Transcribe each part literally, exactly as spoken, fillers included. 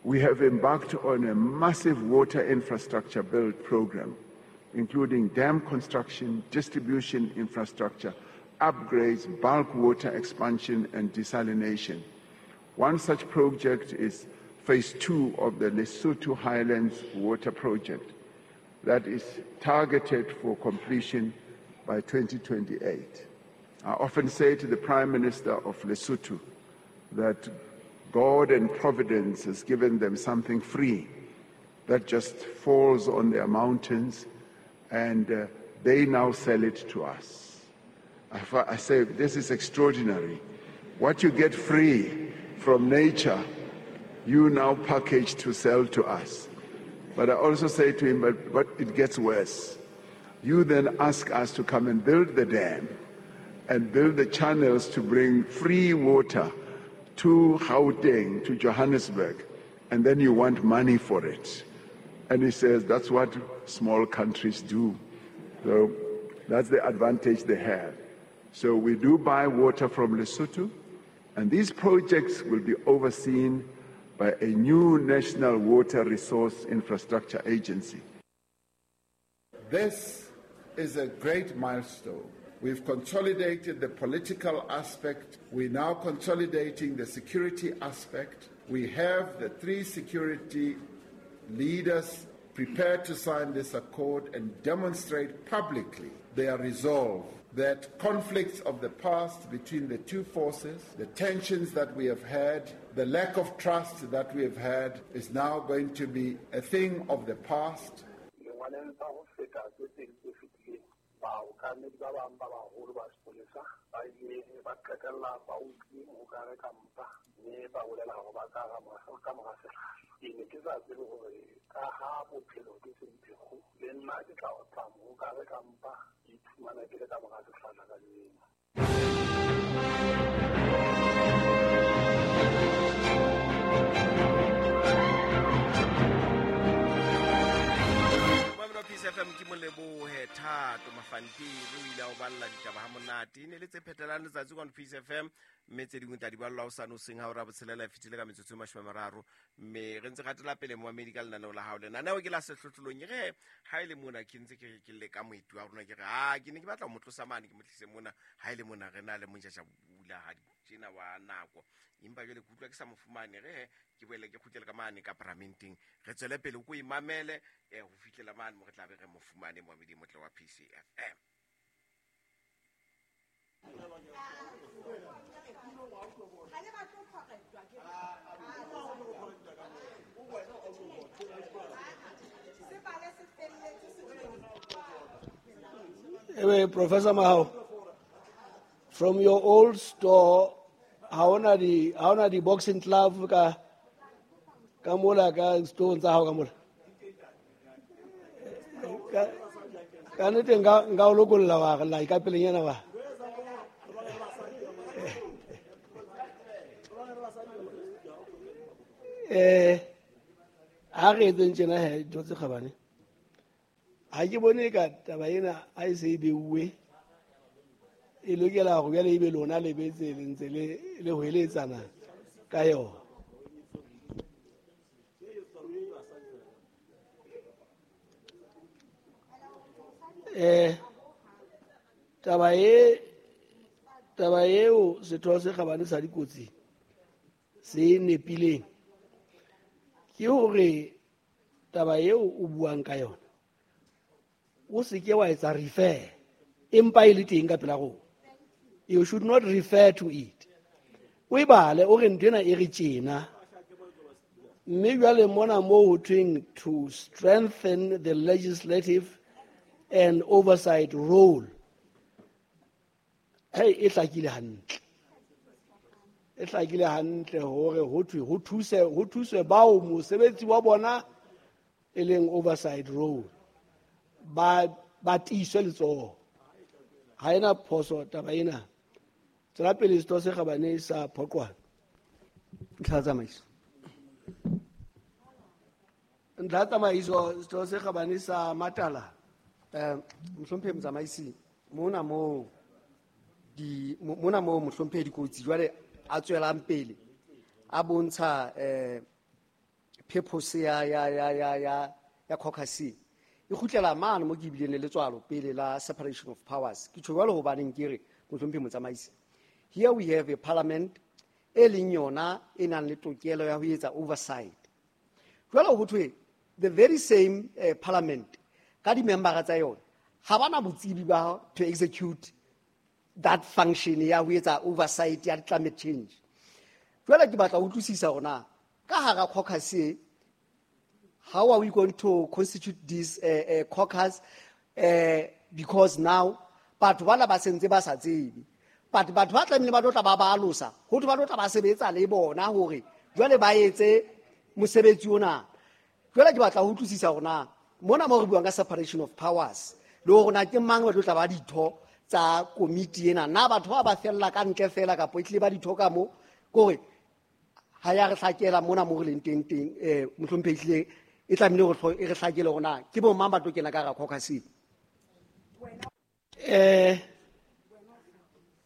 We have embarked on a massive water infrastructure build program, including dam construction, distribution infrastructure, upgrades, bulk water expansion, and desalination. One such project is phase two of the Lesotho Highlands Water Project that is targeted for completion by twenty twenty-eight. I often say to the Prime Minister of Lesotho that God and Providence has given them something free that just falls on their mountains, and uh, they now sell it to us. I, I say, this is extraordinary. What you get free from nature, you now package to sell to us. But I also say to him, but, but it gets worse. You then ask us to come and build the dam and build the channels to bring free water to Gauteng, to Johannesburg, and then you want money for it. And he says, that's what small countries do. So that's the advantage they have. So we do buy water from Lesotho, and these projects will be overseen by a new National Water Resource Infrastructure Agency. This is a great milestone. We've consolidated the political aspect. We're now consolidating the security aspect. We have the three security leaders prepared to sign this accord and demonstrate publicly their resolve that conflicts of the past between the two forces, the tensions that we have had, the lack of trust that we have had is now going to be a thing of the past. P C F M ke molebohe Thato Mafantiri o ile a o balla ditaba ha monate ne le tse phetelang letsatsi kwa P C F M mme tse dingwe tsa di ballwa o sane o seng ha o ra botshelela e fetile ka metsotso e mashome a mararo mme re ntse gatela pele moamedi ka lenaneo la hao lenaneo ke la sehlohlolong re ha ile mona ke ntse ke ke leka moeti wa rona ke re ha ke ne ke batla ho mo tlosa mane ke mo tlise mona ha ile mona re na le monjasha bula ha tjena wa nako empa jwale ke utlwa ke sa mo fumane re ke boele ke kgutlele ka mane ka paramenteng re tswele pele ko imamele eh ho fihlela mane mo re tla be re mo fumane moamedi motle wa P C F M. Anyway, Professor Mahao, from your old store, how na di how na di boxing club ka ka mola ka stone tsa hao ka mola ka ka nete nka nka o lokolla wa la ka pelenyana wa eh ha re etseng tjena he dilo tse kgabane ha ke bone ka taba ena a e se e beuwe e lokela hore jwale ebe lona le betse le ntse le le hweletsana ka yona. Eh taba e taba eo setho se kgabane sa dikotsi se nepileng ke hore taba eo o buang ka yona o se ke wa etsa refer empa e le teng ka pela rona. You should not refer to it. O e bale o re ntho ena e re tjena mme jwale mona mo ho thweng to strengthen the legislative and oversight role. Hey, e hlakile hantle. E hlakile hantle hore ho thwe ho thuse ho thuswe bao mosebetsi wa bona e leng oversight role ba ba tiiswe letsoho. Ha ena phoso taba ena. Tswela pele setho se kgabane sa Phoqwana. Ntlha tsamaiso. Ntlha tsamaiso setho se kgabane sa Matala. Eh mohlomphehi motsamaisi mona mo di mona mo mohlomphehi dikotsi jwale a tswelang pele a bontsha eh purpose ya ya ya ya ya ya caucus e kgutlela mane mo ke bileng le letswalo pele la separation of powers. Ke tjho jwalo hobaneng ke re mohlomphehi motsamaisi, here we have a parliament e leng yona e nang le tokelo ya ho etsa oversight. Jwalo ho thwe the very same uh, parliament ka di-membera tsa yona ha bana botsebi ba to execute that function ya ho etsa oversight ya climate change. Jwale ke batla ho utlwisisa hore na ka hara caucus e, how are we going to constitute this uh, uh, caucus, uh, because now batho bana ba sentse ba sa tsebe, but batho ba tlamehile ba tlo tla ba ba alosa, ho thwe ba tlo tla ba sebetsa le bona hore jwale ba etse mosebetsi ona. Jwale ke batla ho utlwisisa hore na mona mo re buang ka separation of powers le hore na ke mang ba tlo tla ba ditho tsa komiti ena, na batho ba ba fella ka ntle fela kapa e tlile ba ditho ka mo, kore ha ya re hlakela mona mo re leng teng teng, eh mohlomphehi hlile e tlamehile hore e re hlakele hore na ke bo mang ba tlo kena ka hara caucus. Eh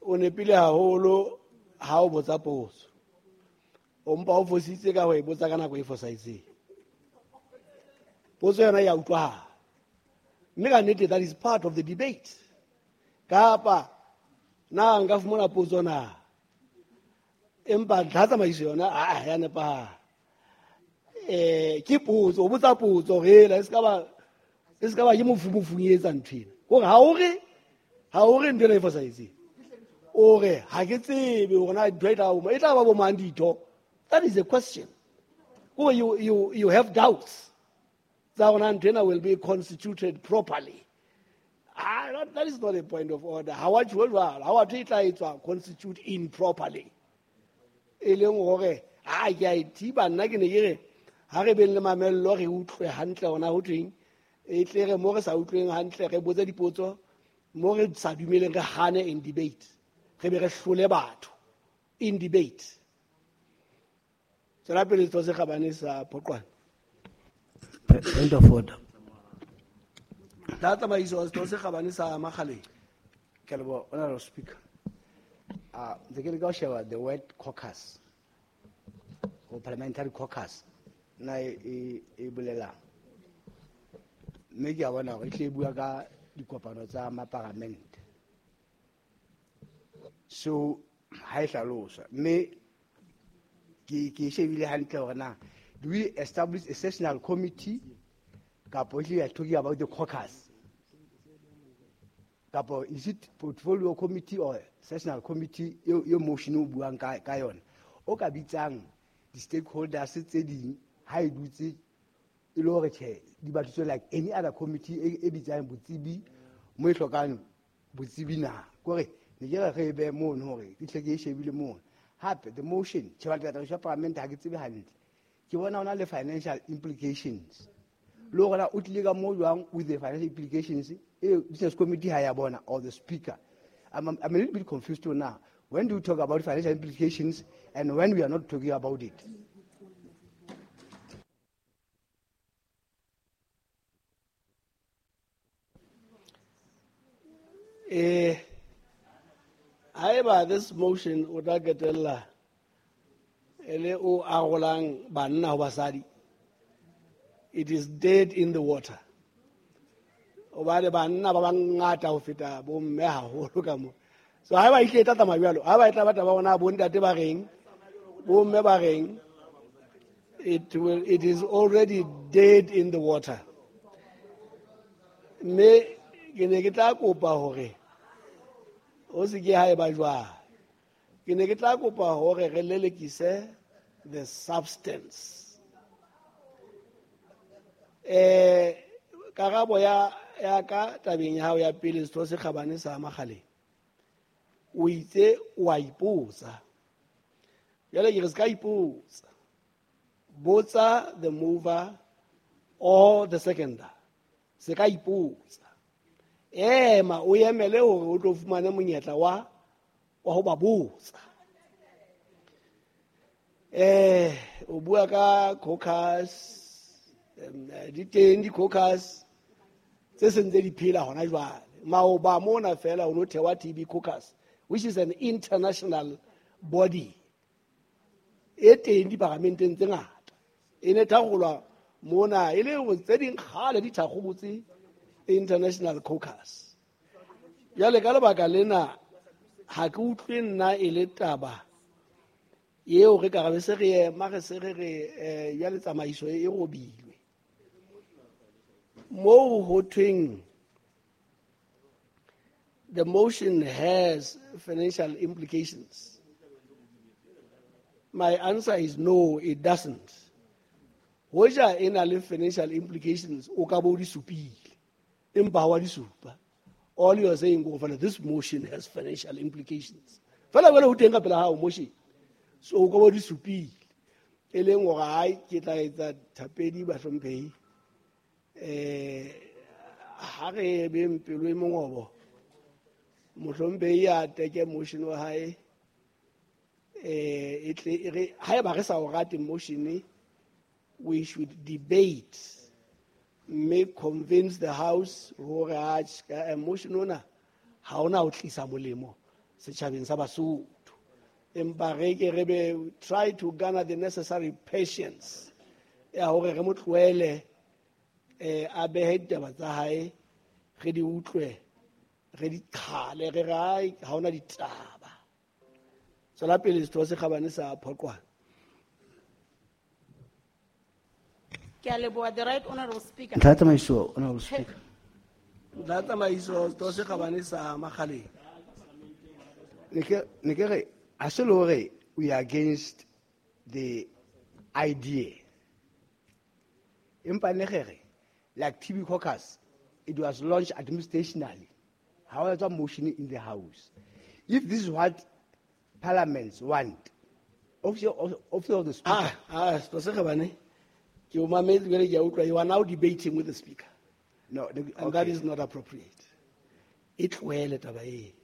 o nepile haholo ha o botsa potso, o mpa o fositse ka ho e botsa ka nako e fosahetseng. Potso yona ya utlwahala, mme ka nnete that is part of the debate. Kapa na nka fumana potso na, empa ntlha tsamaiso yona a ya nepahala. Eh ke potso, o botsa potso hela, e ska ba e ska ba ke mofumofung e etsa ntho ena. Hore ha o re ha o re ntho ena e fosahetseng, o re ha ke tsebe hore na ntho e tla ba e tla ba bo mang ditho. That is a question. Or you, you, you have doubts tsa hore na ntho ena will be constituted properly. Ah, that, that is not a point of order. Ha wa tjho jwalo, ha wa thwe e tla etswa constitute improperly. E leng hore ha ke a e thiba nna ke ne ke re ha re beng le mamello re utlwe hantle hona ho thweng, e tle re mo re sa utlweng hantle re botse dipotso, mo re sa dumeleng re hane in debate, re be re hlole batho in debate. Tswela pele setho se kgabane sa Phoqwane. Point of order. Tla tsamaiso setho se kgabane sa Makgaleng. Ke a leboha, Honorable Speaker. Ah, ntse ke leka ho sheba the word caucus or parliamentary caucus na e, e, e bolelang, mme ke a bona hore e tle e bua ka dikopano tsa maparamente. So ha e hlalosa, mme ke, ke shebile hantle hore na do we establish a sessional committee kapo we are talking about the caucus, kapo is it portfolio committee or sessional committee eo, eo motion o buang ka, ka yona, o ka bitsang di-stakeholders tse ding ha e dutse e le hore tjhe di batliswe like any other committee e, e bitsang botsebi mo e hlokang botsebi na. Kore ne ke re re be mono hore ke tle ke e shebile mono. Hape the motion tjhe batla tsamaiso ya parliament ha ke tsebe hantle, ke bona hona le financial implications, le hore na o tlile ka mo jwang with the financial implications e business committee ha ya bona or the speaker. I'm, I'm a little bit confused now. When do you talk about financial implications and when we are not talking about it? Eh, haeba this motion o tla qetella e le o arolang banna ho basadi, it is dead in the water. Hobane banna ba bangata ho feta bomme haholo ka mo. So haeba e tle e tla tsamaya jwalo, haeba e tla batla ba bona bontate ba reng, bomme ba reng, it will, it is already dead in the water. Mme ke ne ke tla kopa hore o se ke ha e ba jwalo. Ke ne ke tla kopa hore re lelekise the substance. Eh, karabo ya, ya ka tabeng ya hao ya pele, setho se kgabane sa Makgaleng, o itse o a ipotsa. Jwale ke re se ka ipotsa, botsa the mover or the seconder. Se ka ipotsa, ema o emele hore o tlo fumane monyetla wa, wa ho ba botsa. Eh, o bua ka caucus, di teng di-caucus tse seng tse di phela hona jwale. Maoba mona fela ho no thewa T B caucus, which is an international body. E teng diparamenteng tse ngata. E ne thakgolwa mona e le go tse ding kgale di thakgobotse International Caucus. Jwale ka lebaka lena ha ke utlwe nna e le taba eo re ka re se re ema re se re re eh jwale tsamaiso e robilwe. Moo ho thweng the motion has financial implications. My answer is no, it doesn't. Hoja e na le financial implications, o ka bo di supile. Empa ha wa di supa. All you are saying, go fela, this motion has financial implications. Fela jwale ho teng ka pela hao motion. So o ka bo di supile. E leng hore hai ke tla etsa thapedi bahlomphehi. Eh ha re beng pelo e mongobo. Mohlomphehi a teke motion wa hae. Eh e tle e re haeba re sa o rate motion, we should debate, may convince the house hore a motion ona ha ona ho tlisa molemo setjhabeng sa Basotho. Empa re ke re be try to garner the necessary patience ya hore re mo tlohele eh a behe ditaba tsa hae, re di utlwe, re di qhale, re re hai ha ona ditaba. Tswela pele setho se kgabane sa Phoqwana. Ke a leboha, the right honorable speaker. Ntlha ya tsamaiso, honorable speaker. Ntlha ya tsamaiso, setho se kgabane sa Makgaleng. Ne ke, ne ke re, ha se le hore we are against the idea. Empa ne re re, like T B Caucus, it was launched administrationally. However, motion in the house. If this is what parliaments want, officer, officer of the speaker. Ah, ah, setho se kgabane. Ke o mametse jwale ke a utlwa, you are now debating with the speaker. No, the, and okay. That is not appropriate. E tlohele taba e.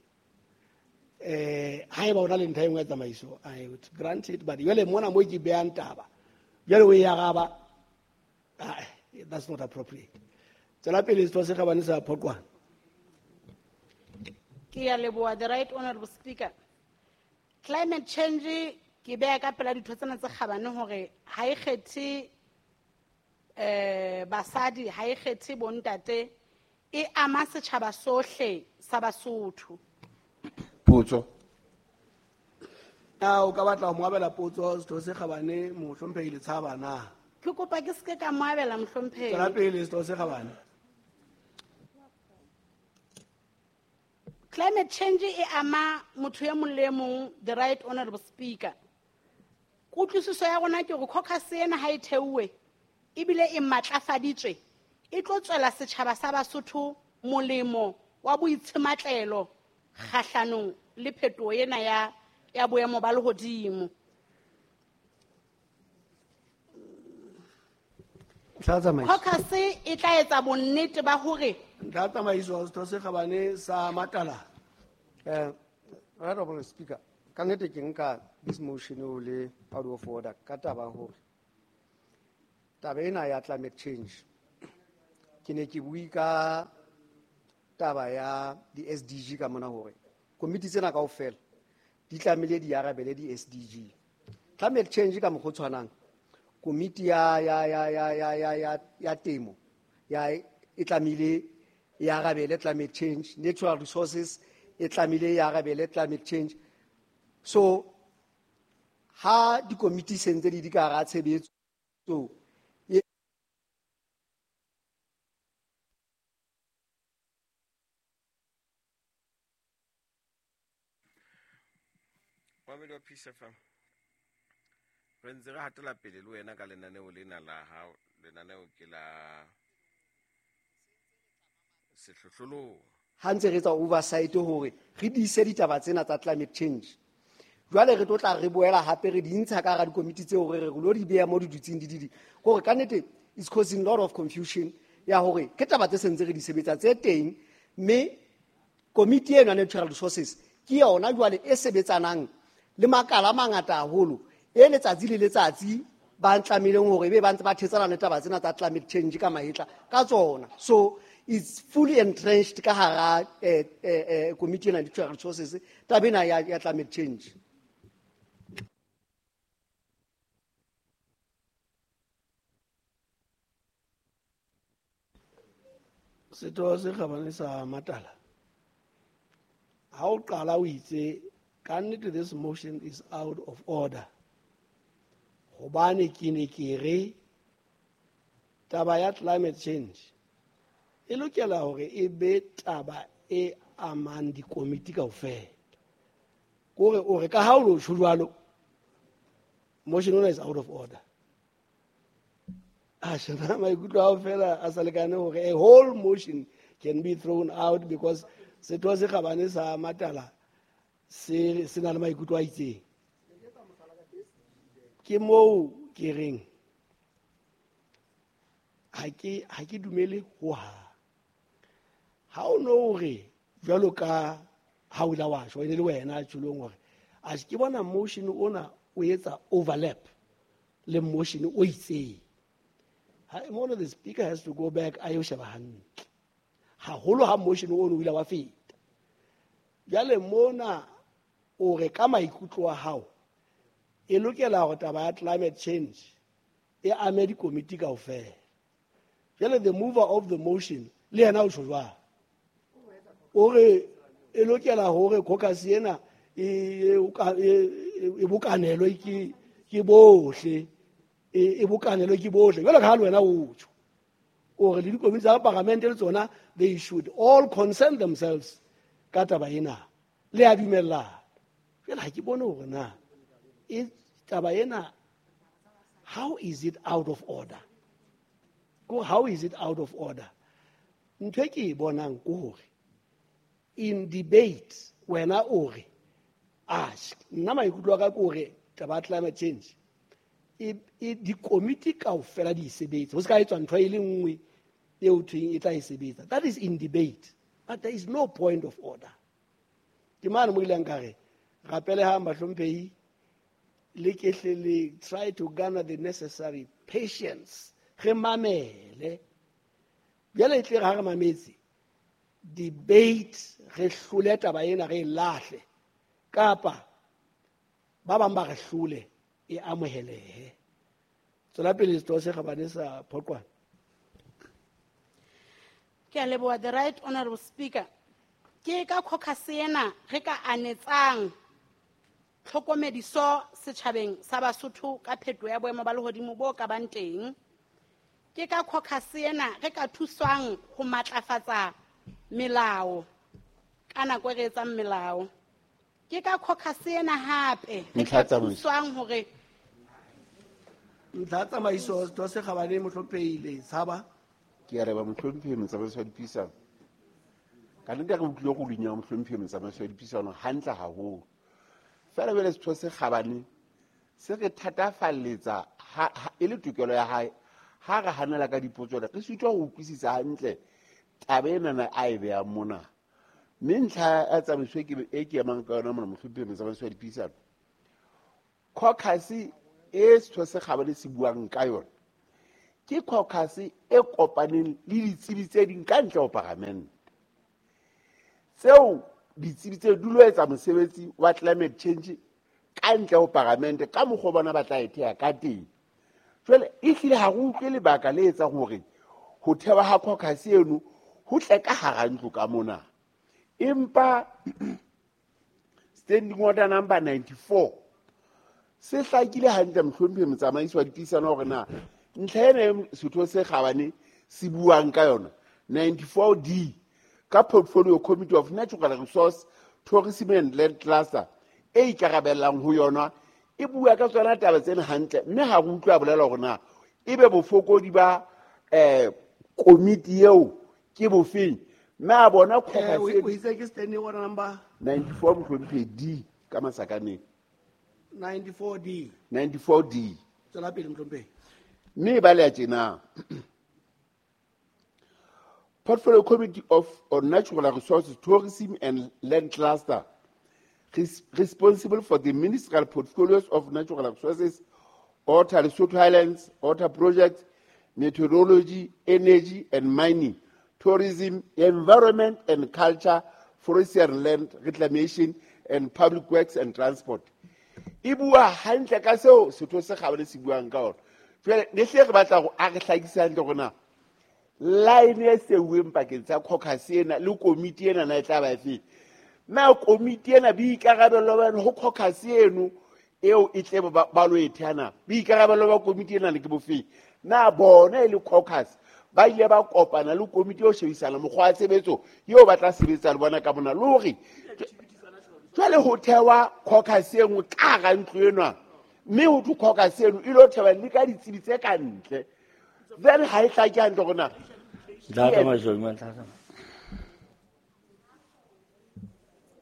Eh, haeba o na le ntlha e nngwe ya tsamaiso, I would grant it, but jwale mona mo ke behang taba, jwale o e araba, ah, that's not appropriate. Tswela pele setho se kgabane sa Phoqwana. Ke a leboha, the right honorable speaker. Climate change ke beha ka pela ditho tsena tse kgabane hore ha e kgethe eh basadi, ha e kgethe bontate, e ama setjhaba sohle sa Basotho. Potso. Na o ka batla ho mo abela potso setho se kgabane mohlomphehi Letshaba na? Ke kopa ke seke ka mo abela mohlomphehi. Tswela pele setho se kgabane. Climate change e ama motho e mong le e mong, the right honorable speaker. Kutlwisiso ya rona ke hore caucus ena ha e theuwe ebile e matlafaditswe, e tlo tswela setjhaba sa Basotho molemo wa boitshematlelo kgahlanong le phetoho ena ya, ya boemo ba lehodimo. Ntlha ya tsamaiso. Caucus e tla etsa bonnete ba hore Ntlha ya tsamaiso, setho se kgabane sa Matala. Eh, right honorable speaker, ka nnete ke nka this motion o le out of order ka taba hore taba ena ya climate change ke ne ke bue ka taba ya di S D G ka mona hore komiti tsena kaofela di tlamehile di arabele di S D G. Climate change ka mokgwa o tshwanang, komiti ya, ya, ya, ya, ya, ya, ya, ya temo ya e tlamehile e arabele climate change, natural resources e tlamehile e arabele climate change. So ha dikomiti se ntse di di ka hara tshebetso, Mamedi wa Peace F M, re ntse re hatela pele le wena ka lenaneo lena la hao. Lenaneo ke la sehlohlolong. Ha ntse re etsa oversight hore re diise ditaba tsena tsa climate change. Jwale re tlo tla re boela hape re di ntsha ka hara dikomiti tseo hore re lo di beha mo di dutseng di di di. Hore ka nnete it's causing a lot of confusion ya hore ke taba tse sentse re di sebetsa tse teng, mme komiti eno ya natural resources ke yona jwale e sebetsanang le makala a mangata haholo e letsatsi le letsatsi ba ntlamileng hore ebe ba ntse ba thetsana le taba tsena tsa climate change ka mahetla ka tsona. So it's fully entrenched ka hara, eh, eh, eh, komiti ena ya natural resources taba ena ya, ya climate change. Setho se kgabane sa Matala, ha o qala o itse ka nnete this motion is out of order, hobane ke ne ke re taba ya climate change e lokela hore e be taba e amang dikomiti kaofela. Kore o re ka ha o lo tjho jwalo, motion ona is out of order. A shena maikutlo ao fela a sa lekane hore a whole motion can be thrown out because setho se kgabane sa Matala se se na le maikutlo a itseng. Ke moo ke reng ha ke ha ke dumele ho hang. Ha o no re jwalo ka ha o la wa shwa ene le wena tjholong hore a ke bona motion ona o etsa overlap le motion o itseng. Ha mona the speaker has to go back a yo sheba hantle. Haholo ha motion o no ile wa feta. Jwale mona o re ka maikutlo a hao e lokela hore taba ya climate change e ame dikomiti kaofela. Jwale the mover of the motion le yena o tjho jwang? O re e lokela hore caucus ena e e bokanelwe ke ke bohle, e bokanelwe ke bohle. Jwale ka ha le wena o tjho o re le dikomiti tsa parliament le tsona they should all concern themselves ka taba ena. Le a dumellana. Jwale ha ke bone hore na e taba ena how is it out of order? Ko how is it out of order? Ntho e ke e bonang ke hore in debate wena o re ask nna maikutlo a ka ke hore taba ya climate change e e dikomiti kaofela di sebetse, ho se ka etswa ntho e le nngwe eo thweng e tla e sebetsa. That is in debate, but there is no point of order. Ke mane mo ileng ka re rapelehang bahlomphehi le kehle le try to garner the necessary patience, re mamele. Jwale e tle re ha re mametse debate re hlole taba ena re e lahle, kapa ba bang ba re hlole e amohelehe. Tswela pele setho se kgabane sa Phoqwana. Ke a leboha, the right honorable speaker. Ke ka caucus ena re ka anetsang tlhokomediso setjhabeng sa Basotho ka phetoho ya boemo ba lehodimo bo ka bang teng. Ke ka caucus ena re ka thuswang ho matlafatsa melao ka nako e re etsang melao. Ke ka caucus ena hape re ka thuswang hore ntlha tsamaiso setho se kgabane mohlomphehi le tshaba. Ke a reba mohlomphehi motsamaisi wa dipuisano. Ka nnete re utlwile go dunya mohlomphehi motsamaisi wa dipuisano hantle haholo. Fela jwale setho se kgabane se re thatafalletsa e le tokelo ya hae ha re hanela ka dipotso re sitwa ho utlwisisa hantle taba enana a e behang mona. Mme ntlha ya tsamaiso e ke emang ka yona mona mohlomphehi motsamaisi wa dipuisano, caucus e setho se kgabane se buang ka yona ke caucus e kopaneng le ditsebi tse ding ka ntle ho parliament. Tseo ditsebi tse di lo etsa mosebetsi wa climate change ka ntle ho parliament ka mokgwa bona ba tla e theha ka teng. Jwale e hlile ha re utlwe lebaka le etsang hore ho thewa ha caucus eno ho tle ka hara ntlo ka mona. Empa standing order number ninety-four se hlakile hantle mohlomphehi motsamaisi wa dipuisano hore na ntlha ena setho se kgabane se buang ka yona ninety-four D ka Portfolio Committee of Natural Resource, Tourism and Land Cluster e ikarabellang ho yona e bua ka tsona taba tsena hantle, mme ha re utlwa bolela hore na ebe bofokodi ba eh komiti eo ke bofeng. Mme a bona eh o itse ke standing order number ninety-four mohlomphehi D ka masakaneng ninety-four D ninety-four D. Tswela pele mohlomphehi. Mme ba le tjena Portfolio Committee of on Natural Resources, Tourism and Land Cluster res responsible for the ministerial portfolios of natural resources, water, Lesotho Highlands, water projects, meteorology, energy and mining, tourism, environment and culture, forestry and land reclamation, and public works and transport. E bua hantle ka seo setho se kgabane se buang ka ona. Jwale ne hle re batla go a re hlakise hantle hore na Line e seuweng pakeng tsa caucus ena le komiti ena na e tla ba efe? Na komiti ena boikarabelo ba ho caucus eno eo e tle ba lo e theana, boikarabelo ba komiti ena le ke bofeng? Na bona e le caucus ba ile ba kopana le komiti eo shebisana mokgwa wa tshebetso eo ba tla sebetsa le bona ka mona, le hore jwale ho thewa caucus e nngwe ka hara ntlo enwa, mme ho thwe caucus eno e lo thewa le ka ditsebi tse ka ntle. Then ha e hlake hantle hore na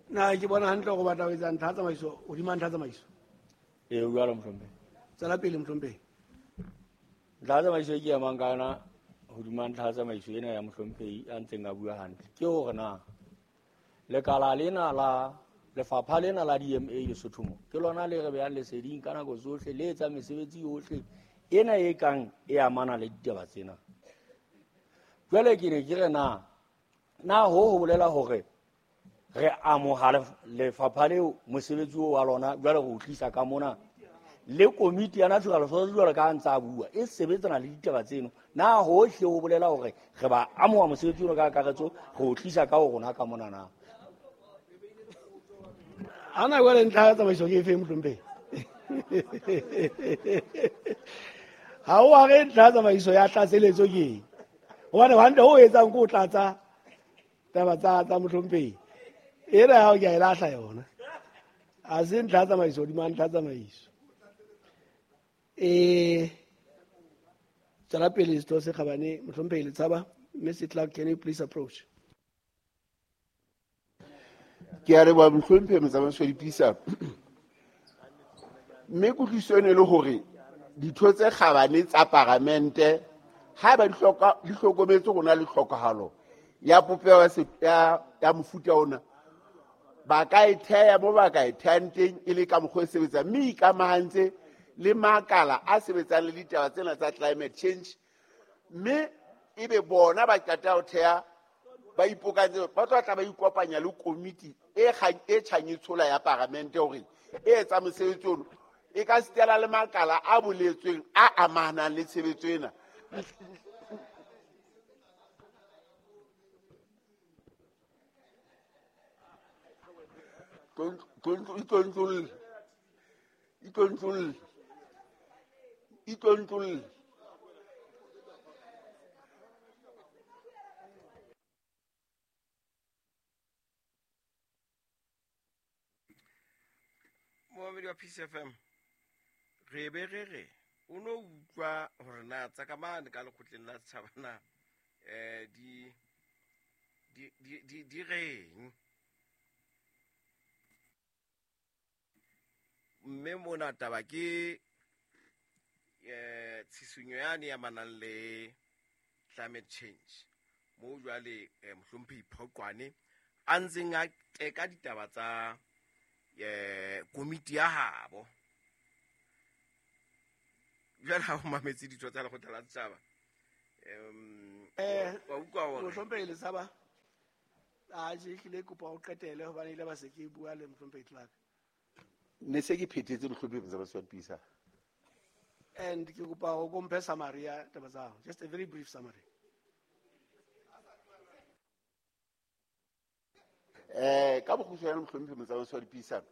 na ke bona hantle hore batla ho etsa ntlha tsamaiso hodima ntlha tsamaiso. Ee, o jwalo mohlomphehi. Tswela pele mohlomphehi. Ntlha tsamaiso e ke emang ka yona hodima ntlha tsamaiso ena ya mohlomphehi a ntseng a bua hantle ke hore na lekala lena la lefapha lena la D M A Lesotho mo ke lona le re behang leseding ka nako tsohle, le etsa mesebetsi yohle ena e kang e amana le ditaba tsena. Jwale ke ne ke re na na ho ho bolela hore re amoha lefapha leo mosebetsi oo wa lona, jwale re o tlisa ka mona le komiti ya natural resources jwale ka ntse a bua e sebetsana le ditaba tseno, na hohle ho bolela hore re ba amoha mosebetsi ono ka kakaretso re o tlisa ka ho rona ka mona na? Ana jwale ntlha ya tsamaiso ke efe mohlomphehi? Ha o a re ntlha ya tsamaiso ya tlatseletso ke eng? Hobane hantle ho etsang ke o tlatsa taba tsa tsa mohlomphehi. Ena ya hao ke a e lahla yona. Ha se ntlha ya tsamaiso hodima ntlha ya tsamaiso. Eh, tswela pele setho se kgabane mohlomphehi Letshaba. Mister Clark, can you please approach? Ke a leboha mohlomphehi motsamaisi wa dipuisano. Mme kutlwisiso eno e le hore ditho tse kgabane tsa paramente haeba di hloka di hlokometse rona le tlhokahalo ya popeho ya ya mofuta ona, ba ka e theha mo ba ka e thehang teng e le ka mokgwa o sebetsang, mme ikamahantse le makala a sebetsang le ditaba tsena tsa climate change, mme ebe bona ba qeta ho theha ba ipokantse ba tla tla ba ikopanya le komiti e e tjhang e tshola ya paramente hore e etsa mosebetsi ono e ka sitela le makala a boletsweng a amanang le tshebetso ena. Itlontlol itlontlol itlontlol Moamedi wa Peace F M, re be re re o no utlwa hore na tsa ka mane ka lekgotleng la setjhaba na eh di di di di reng, mme mona taba ke eh tshisinyo yane ya manang le climate change mo jwale mohlomphehi Phoqwane a ntseng a teka ditaba tsa eh komiti ya habo. Jwale ha o mametse ditho tsa lekgotla la setjhaba um wa utlwa hore mohlomphehi Letshaba a je hlile kopa o qetele hobane ile ba se ke bua le mohlomphehi Clark. Ne se ke phethetse mohlomphehi motsamaisi wa dipuisano. And ke kopa o komphe summary ya taba tsa hao, just a very brief summary. Eh ka bokgutshwane mohlomphehi motsamaisi wa dipuisano,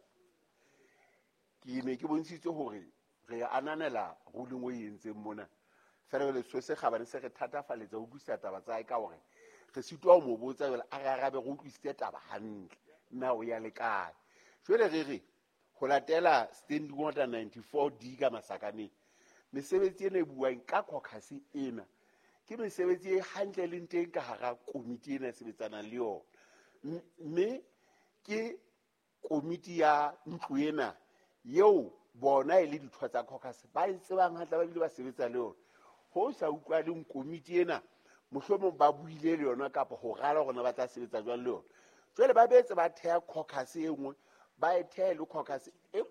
ke ne ke bontshitse hore re ananela ruling o entseng mona, fela jwale so se kgabane se re thatafaletsa ho utlwisisa taba tsa hae ka hore re sitwa ho mo botsa jwale a re arabe re utlwisitse taba hantle na o ya le kae. Jwale re re ho latela standing order ninety-four D ka masakaneng, mesebetsi ena e buang ka caucus ena ke mesebetsi e hantle leng teng ka hara komiti ena e sebetsanang le yona, mme ke komiti ya ntlo ena eo bona e le ditho tsa caucus ba e tsebang hantle ba bile ba sebetsa le yona. Ho sa utlwaleng komiti ena mohlomong ba buile le yona kapa ho rala hore ba tla sebetsa jwang le yona. Jwale ba betse ba theha caucus e nngwe, ba e thehe le caucus e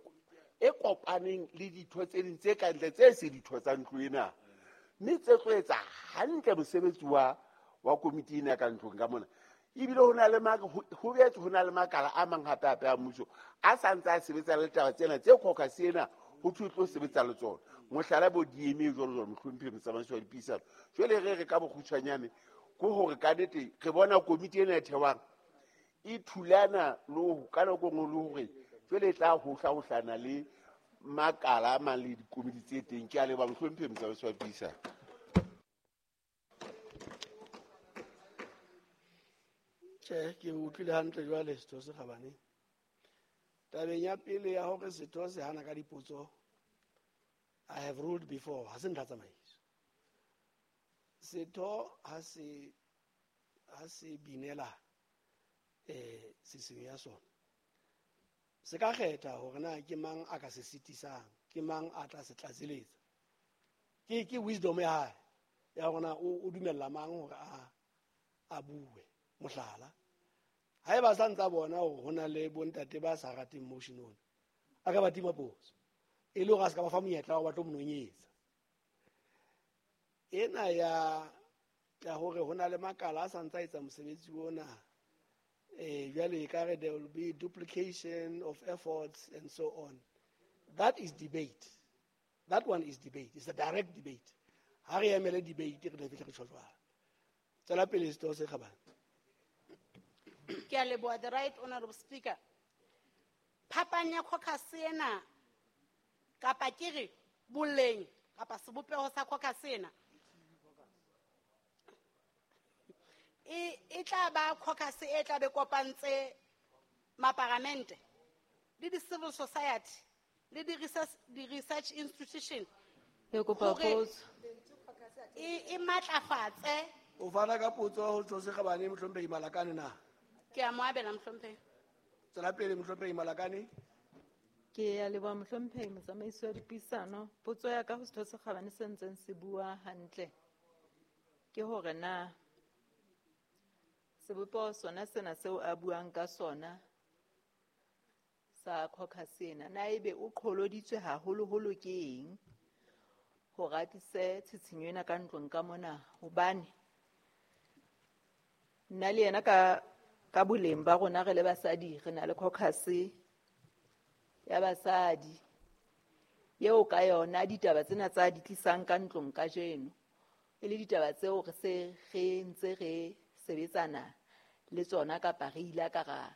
e kopaneng le ditho tse ding tse ka ntle tse se ditho tsa ntlo ena, mme tse tlo etsa hantle mosebetsi wa wa komiti ena ka ntlong ka mona. Ebile ho na le ho boetse ho na le makala a mang hape hape a mmuso a sa ntse a sebetsa le taba tsena tse caucus ena ho thwe tlo sebetsa le tsona. Mohlala bo D M A jwalo jwalo mohlomphehi motsamaisi wa dipuisano. Jwale re re ka bokgutshwanyane ke hore ka nnete re bona komiti ena e thewang e thulana le ho ka nako e nngwe le hore jwale e tla hohlahohlana le makala a mang le dikomiti tse teng. Ke a leboha mohlomphehi motsamaisi wa dipuisano. Tjhe, ke utlwile hantle jwale setho se kgabane. Tabeng ya pele ya hore setho se hana ka dipotso, I have ruled before, ha se ntlha tsamaiso. Setho ha se, ha se binela, eh, seseng ya sona, se ka kgetha hore na ke mang a ka se sitisang, ke mang a tla se tlatseletsa. Ke, ke wisdom ya hae ya hore na o, o dumella mang hore a, a bue. Mohlala, haeba sa ntsa bona hore ho na le bontate ba sa rateng motion ona, a ka ba tima potso e le hore a se ka ba fa monyetla wa hore ba tlo mo nonyetsa. Ena ya, ya hore ho na le makala a sa ntsa etsa mosebetsi ona, eh, jwale ekare there will be duplication of efforts and so on. That is debate. That one is debate. It's a direct debate. Ha re emele debate, re tla fihla re tjho jwalo. Tswela pele setho se kgabane. Ke a leboha, the right honorable speaker. Phapang ya caucus ena kapa ke re boleng kapa sebopeho sa caucus ena e, e tla ba caucus e tla be kopantse maparamente le di-civil society le di-research, di-research institution Ke kopa hore potso. e, e matlafatse. O fana ka potso ho setho se kgabane mohlomphehi Malakane na? Ke a mo abela mohlomphehi. Tswela pele mohlomphehi Malakane. Ke a leboha mohlomphehi motsamaisi wa dipuisano. Potso ya ka ho setho se kgabane se ntseng se bua hantle ke hore na sebopeho sona sena seo a buang ka sona sa caucus ena, na ebe o qholoditswe haholoholo ke eng hore a tlise tshitshinyo ena ka ntlong ka mona? Hobane nna le yena ka, ka boleng ba rona re le basadi re na le caucus ya basadi eo ka yona ditaba tsena tsa di tlisang ka ntlong kajeno e le ditaba tseo re se re ntse re sebetsana le tsona kapa re ile ka ra,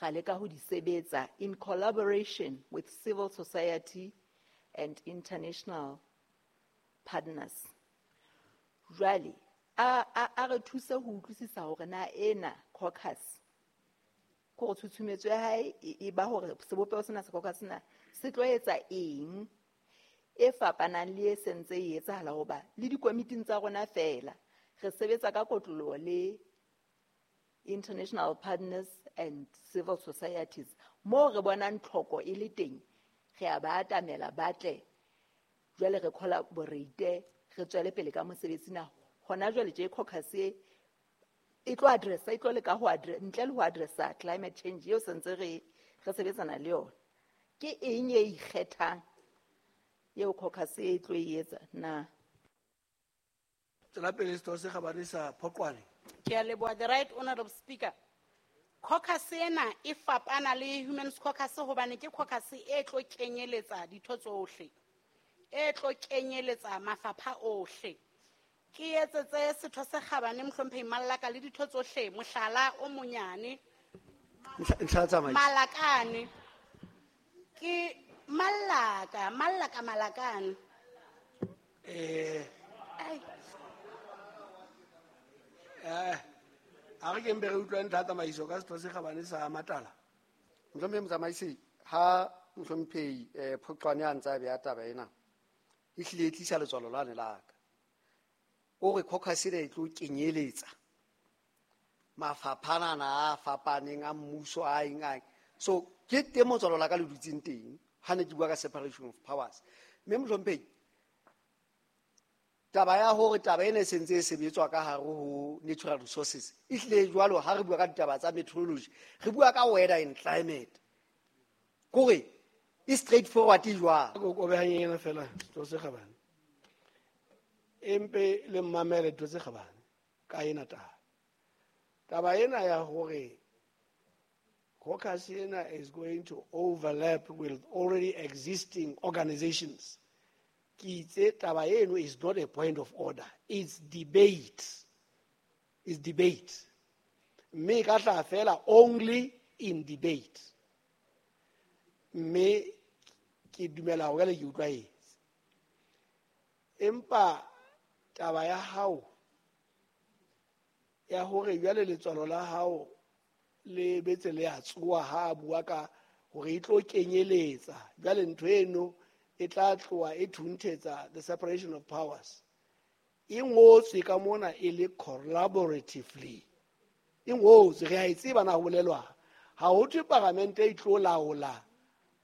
ra leka ho di sebetsa in collaboration with civil society and international partners. Jwale a, a, a re thuse ho utlwisisa hore na ena caucus ke hore tshutshumetso ya hae e, e ba hore sebopeho sena sa caucus sena se tlo etsa eng e fapanang le e sentse e etsahala, hoba le dikomiting tsa rona feela re sebetsa ka kotloloho le international partners and civil societies. Moo re bonang tlhoko e le teng, re a ba atamela ba tle, jwale re collaborate, re tswele pele ka mosebetsi na. Hona jwale tje caucus e, e tlo addressa, e tlo leka ho addre-, ntle le ho addressa climate change eo sentse re, re sebetsana le yona. Ke eng e ikgethang eo caucus e tlo e etsa na? Tswela pele setho se kgabane sa Phoqwane. Ke a leboha, the right honorable speaker. Caucus ena e fapana le Human Caucus hobane ke caucus e tlo kenyeletsa ditho tsohle, e tlo kenyeletsa mafapha ohle. Ke etsetse setho se kgabane mohlomphehi Mallaka le ditho tsohle mohlala o monyane. Ntlha, ntlha tsamaiso. Malakane. Ke Mallaka, Mallaka Malakane. Eh. Ai. Eh, a re ke mpe re utlwe ntlha tsamaiso ka setho se kgabane sa Matala. Mohlomphehi motsamaisi, ha mohlomphehi, eh, Phoqwane a ntse a beha taba ena, e hlile e tlisa letswalo lane la ka. O re caucus ena e tlo kenyeletsa mafapha ana a fapaneng a mmuso a eng a eng. So ke teng motswalo la ka le dutseng teng ha ne ke bua ka separation of powers. Mme mohlomphehi, taba ya hore taba ena e sentse e sebetswa ka hare ho natural resources e hlile jwalo ha re bua ka ditaba tsa meteorology, re bua ka weather and climate. Kore e straightforward e jwang? Ko kobe hanyane fela, setho se kgabane. Empe le mmamele ditho tse kgabane ka ena taba. Taba ena ya hore Caucus ena is going to overlap with already existing organizations. Ke itse taba eno is not a point of order. It's debate. It's debate. Mme e ka tla fela only in debate. Mme ke dumela hore le ke utlwahetse. Empa taba ya hao ya hore jwale letswalo la hao le betse le a tsoha ha a bua ka hore e tlo kenyeletsa jwale ntho eno e tla tloha e thunthetsa the separation of powers. E ngotswe ka mona e le collaboratively. E ngotswe re a e tseba na ho bolelwa. Ha ho thwe paramente e tlo laola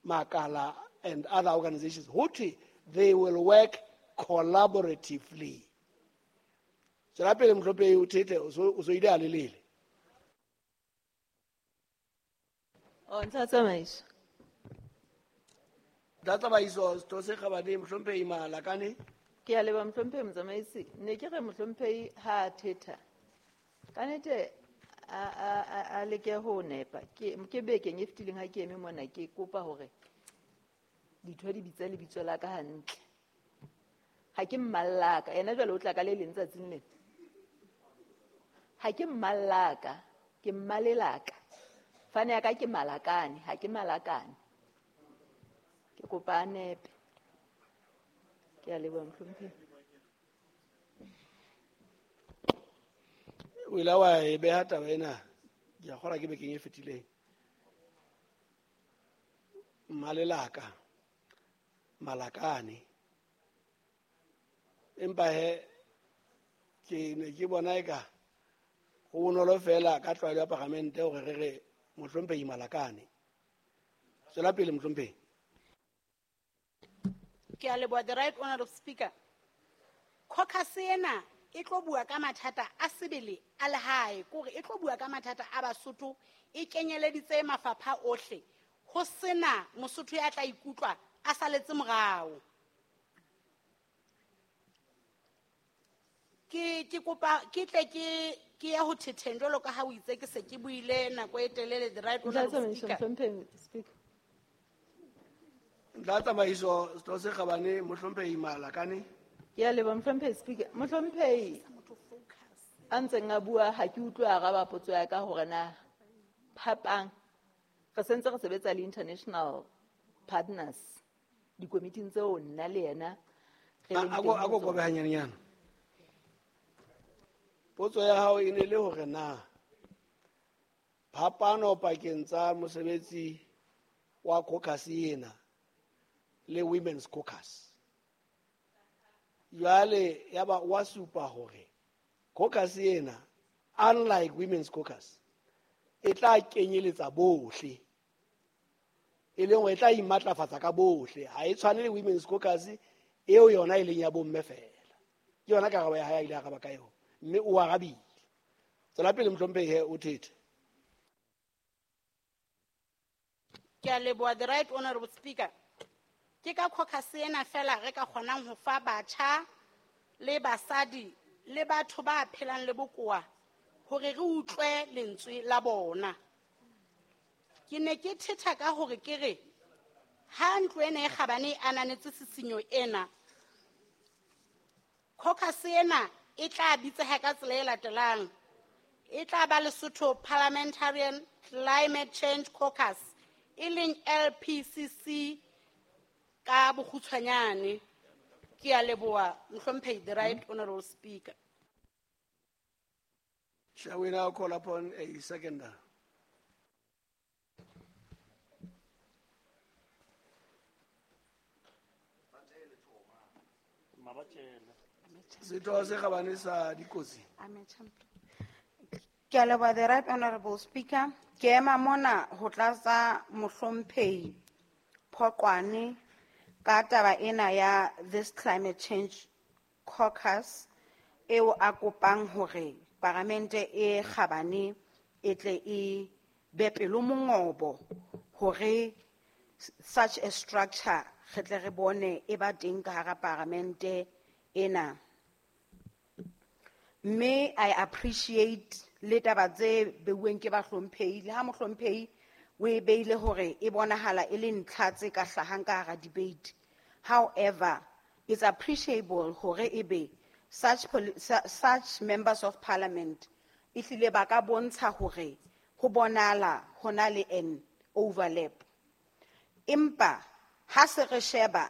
makala and other organizations. Ho thwe they will work collaboratively. Tswela pele mohlomphehi o thethe o so o so ile a lelele. O ntlha tsamaiso. Ntlha tsamaiso setho se kgabane mohlomphehi Malakane. Ke a leboha mohlomphehi motsamaisi. Ne ke re mohlomphehi ha a thetha. Ka nnete a a a a leke ho nepa. Ke ke bekeng e fetileng ha ke eme mona ke kopa hore ditho di bitse lebitso la ka hantle. Ha ke mmallaka, yena jwale o tla ka le leng tsatsing lena. Ha ke mmallaka, ke mmalelaka. Fane ya ka ke Malakane, ha ke Malakane. Ke kopa a nepe. Ke a leboha mohlomphehi. O ile wa e beha taba ena, ke a kgolwa ke bekeng e fetileng. Mmalelaka, Malakane. Empa he ke ne ke bona eka ho bonolo fela ka tlwaelo ya paramente hore re re mohlomphehi Malakane. Tswela pele mohlomphehi. Ke a leboha the right honorable speaker. Caucus ena e tlo bua ka mathata a sebele a lehae, kore e tlo bua ka mathata a Basotho, e kenyeleditse mafapha ohle. Ho sena Mosotho ya tla ikutlwa a saletse morao. Ke ke kopa ke tle ke ke ya ho thetheng jwalo ka ha o itse ke se ke buile nako e telele the right Ntlha honorable tsamaiso, speaker. mohlomphehi speaker. Ntlha tsamaiso setho se kgabane mohlomphehi Malakane. Ke a leboha mohlomphehi speaker. Mohlomphehi a ntseng a bua ha ke utlwe a araba potso ya ka hore na phapang re sentse re sebetsa le international partners dikomiting tseo nna le yena re A leng a teng ko ho a ko tsona. kobe hanyanenyana. Potso ya hao e ne le hore na phapano pakeng tsa mosebetsi wa caucus ena le women's caucus. Jwale ya ba wa supa hore caucus ena unlike women's caucus e tla kenyeletsa bohle. E leng hore e tla imatlafatsa ka bohle. Ha e tshwane le women's caucus eo yona e leng ya bomme fela. Ke yona karabo ya hae a ile a araba ka yona. Mme o arabile. Tswela pele mohlomphehi he o thethe. Ke a leboha the right honorable speaker. Ke ka caucus ena fela re ka kgonang ho fa batjha le basadi le batho ba phelang le bokowa hore re utlwe lentswe la bona. Ke ne ke thetha ka hore ke re ha ntlo ena e kgabane e ananetse tshisinyo ena, caucus ena e tla bitseha ka tsela e latelang. E tla ba Lesotho Parliamentarian Climate Change Caucus, e leng L P C C ka bokgutshwanyane. Ke a leboha mohlomphehi the right honorable speaker. Shall we now call upon a seconder? Setho se kgabane sa dikotsi. Ke a leboha the right honorable speaker. Ke ema mona ho tlatsa mohlomphehi Phoqwane ka taba ena ya this climate change caucus eo a kopang hore paramente e kgabane e tle e be pelo mongobo hore such a structure re tle re bone e ba teng ka hara paramente ena. Mme I appreciate le taba tse beuweng ke bahlomphehi, le ha mohlomphehi o e beile hore e bonahala e le ntlha tse ka hlahang ka hara debate. However, it's appreciable hore ebe such poli-, su-, such members of parliament ehlile ba ka bontsha hore ho bonahala ho na le an overlap. Empa ha se re sheba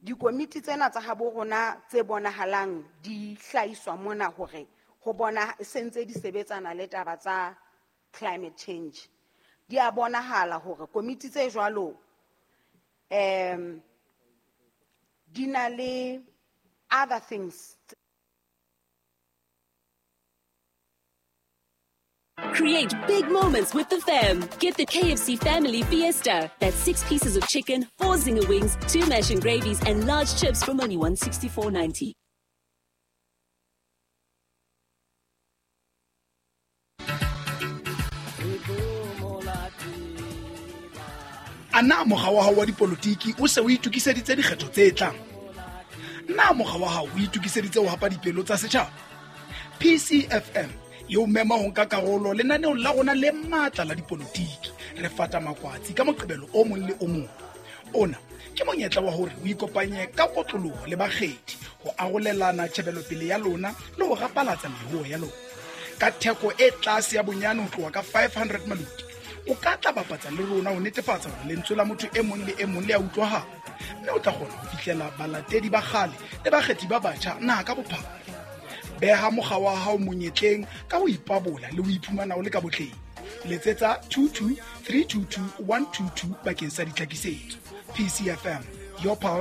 dikomiti tsena tsa habo rona tse bonahalang di hlahiswa mona hore ho bona sentse di sebetsana le taba tsa climate change, di a bonahala hore komiti tse jwalo, em, di na le other things. Create big moments with the fam. Get the K F C Family Fiesta. That's six pieces of chicken, four zinger wings, two mash and gravies, and large chips from only one sixty-four ninety. A na mokga wa hao wa dipolotiki o se o itokiseditse dikgetho tse tlang? Na mokga wa hao o itokiseditse ho hapa dipelo tsa setjhaba? P C F M e o mema ho nka karolo lenaneong la rona le matla la dipolotiki. Re fata makwatsi ka Moqebelo o mong le o mong. Ona ke monyetla wa hore o ikopanye ka kotloloho le bakgethi ho arolelana tjhebelopele ya lona le ho rapalatsa meruo ya lona. Ka theko e tlase ya bonyane ho tloha ka five hundred maluti, o ka tla bapatsa le rona ho netefatsa hore lentswe la motho e mong le e mong le a utlwahala, mme o tla kgona ho fihlela balatedi ba kgale le bakgethi ba batjha naha ka bophara. Beha mokga wa hao monyetleng ka ho ipabola le ho iphumana o le ka botleng. Letsetsa two two three two two one two two bakeng sa ditlhakisetso. P C F M, your power.